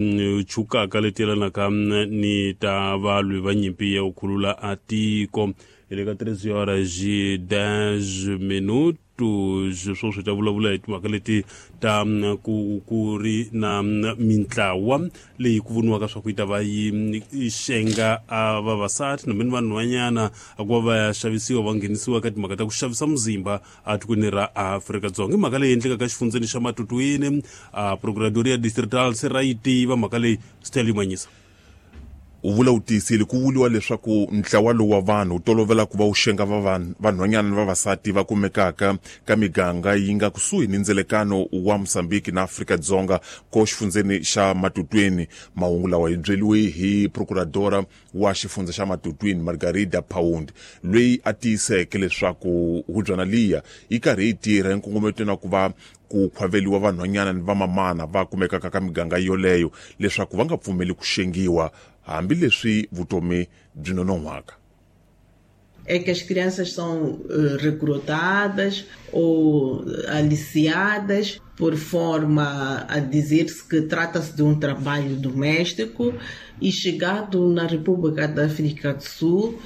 Chukaka leti yelanaka ni ta valwi va nyimpi ya ku khulula a tiko. Hi le ka 3 horas e 10 minutos, sweswo swi ta vulavula hi timhaka leti ta ku ri na mintlawa leyi ku voniwaka swa ku yi ta va yi xenga a vavasati nambe ni vanhwanyana a ku va va ya xavisiwa, va nghenisiwa ka timhaka ta ku xavisa muzimba atikweni ra Afrika-Dzonga. I mhaka leyi endlekaka exifundzeni xa Matutuini. A Procuradoria Distrital se ra yi tiva mhaka leyi, swi manyisa. U vula u tiyisile. Ku vuliwa leswaku ntlawa lowu wa vanhu wu tolovela ku va wu xenga vanhwanyana ni vavasati va kumekaka ka miganga yi nga kusuhi ni ndzelekano wa Mosambiki na Afrika-Dzonga ko xifundzeni xa Matutweni. Mahungu lawa hi byeliwe hi procuradora wa xifundza xa Matutwini, Margarida Pound, loyi a tiyiseke leswaku hubyana liya yi karhi yi tirha enkongometweni wa ku va ku khwaveliwa vanhwanyana ni vamamana va kumekaka ka miganga yoleyo leswaku va nga pfumeli ku xengiwa hambileswi vutomi byi nonon'hwaka. É que as crianças são recrutadas ou aliciadas por forma a dizer-se que trata-se de um trabalho doméstico e, chegado na República da África do Sul,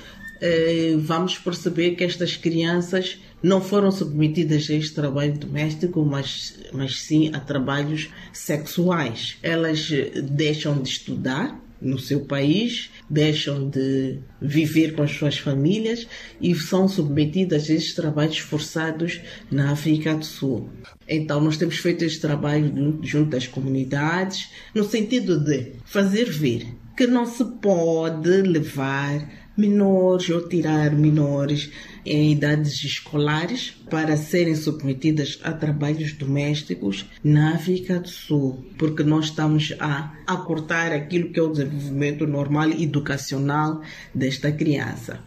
vamos perceber que estas crianças não foram submetidas a este trabalho doméstico, mas sim a trabalhos sexuais. Elas deixam de estudar no seu país, deixam de viver com as suas famílias e são submetidas a estes trabalhos forçados na África do Sul. Então, nós temos feito este trabalho junto às comunidades, no sentido de fazer ver que não se pode levar menores ou tirar menores em idades escolares para serem submetidas a trabalhos domésticos na África do Sul, porque nós estamos a cortar aquilo que é o desenvolvimento normal educacional desta criança.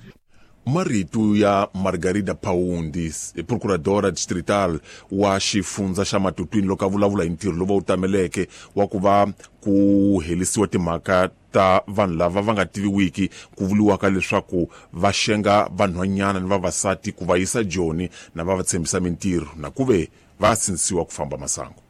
Marito ya Margarida Paundi, procuradora distrital wa xifundza xa Matutwini, loko a vulavula hi ntirho lowu va wu tameleke wa ku va ku helisiwa timhaka ta vanhu lava va nga tiviwiki ku vuliwaka leswaku va xenga vanhwanyana ni vavasati ku va yisa Joni na va va tshembisa mintirho na ku ve va sindzisiwa ku famba masangu.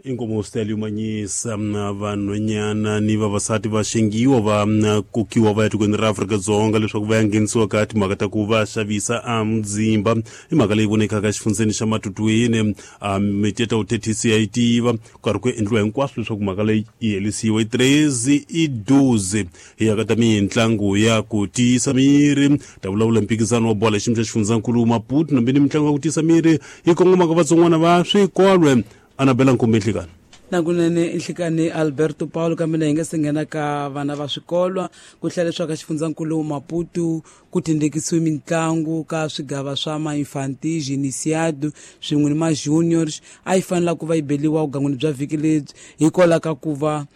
Inkomo, Stelio Manyisa. Vanhwanyana ni vavasati va xengiwa, va kokiwa va ya tikweni ra Afrika-Dzonga leswaku va ya nghenisiwa ka timhaka ta ku va xavisa a muzimba. I mhaka leyi vonekaka exifundzeni xa Matutwini. Miteta uthethisi ya yi tiva ku karhi ku endliwa hinkwaswo leswaku mhaka leyi yi helisiwa. I 13:12. Hi ya ka ta mitlangu ya ku tiyisa miri, ta vulavula mphikizano wa bola xiyimo xa xifundzankulu Maputo nambe ni mitlangu ya ku tiyisa miri yi kongomaka vatsongwana va swikolwe. Anabela Nkumbi, nhlikani. Nakunene, nhlikani Alberto Paulo. Kambe na hi nga se nghena ka vana va swikolwa, ku hlela leswaku ka xifundzankulu Maputo ku tindekisiwe mitlangu ka swigava swa ma-infantis, iniciado swin'we ni ma-juniors. A yi fanela ku va yi beliwa vugangwini bya vhiki lebyi, hikwalaho ka ku va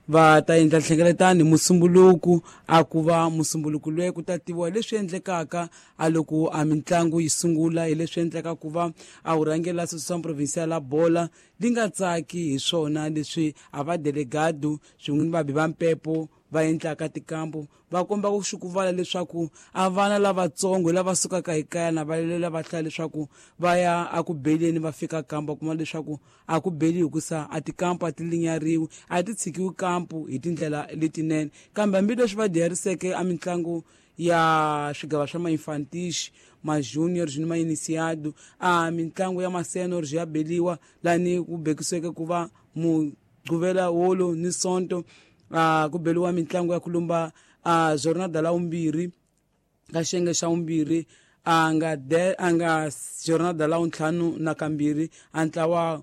va ta endla nhlengeletano hi Musumbuluku. A ku va Musumbuluku loyi ku ta tiviwa leswi endlekaka a loko a mitlangu yi sungula, hi leswi endleka ku va a wu rhangela Associação Provincial la Bola li nga tsaki hi swona leswi a va delegado swin'we ni vabi va mpepo va endlaka tikambu, va komba ku xukuvala leswaku a vana lavatsongo lava sukaka hi kaya na va lela va hlaya leswaku va ya a ku beleni, va fika kambu va kuma leswaku a ku beli hikusa a tikampu a ti linyariwi, a ti tshikiwi kampu hi tindlela letinene. Kambe hambileswi va diyariseke a mitlangu ya swigava swa ma-infantis, ma-juniors ni ma-iniciado, a mitlangu ya ma-seniors ya beliwa lani ku bekisiweke ku va Mugquvela wolo ni Sonto. A ku beliwa mitlangu ya ku lumba a jornada la vumbirhi ka xiyenge xa vumbirhi, a nga de a nga jornada la wuntlhanu na kambirhi. A ntlawa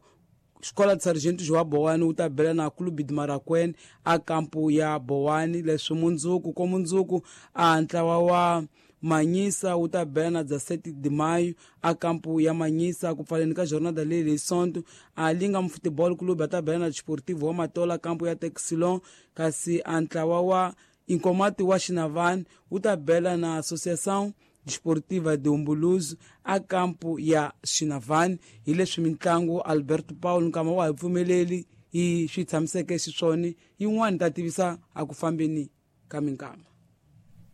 Xikola Sargento Joa Bowani wu ta bela na Clube de Marakwene a kampu ya Bowani. Leswi mundzuku ko mundzuku, a ntlawa wa Manyisa wu ta bela na 17 de Maio a kampu ya Manyisa. Ku pfaleni ka jornada leyi hi Sonto, a Lingam Football Club a ta bela na Desportivo wa Matola kampu ya Texilon, kasi a ntlawa wa Inkomati wa Xinavani wu ta bela na Associação Desportiva de Umbuluzo a kampu ya Xinavani. Hi leswi mitlangu, Alberto Paulo, nkama wa hi pfumeleli yi swi tshamiseke xiswona, yin'wana ta tivisa a ku fambeni ka minkama.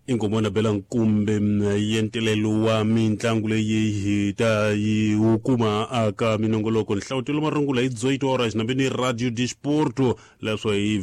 Inkomona bela nkumbe yentelelo wa mitlangu leyi hi ta yi wu kuma aka minongoloko. Nhlawutelo marungula hi 18 horas nambeni Radio Disporto leswo hi.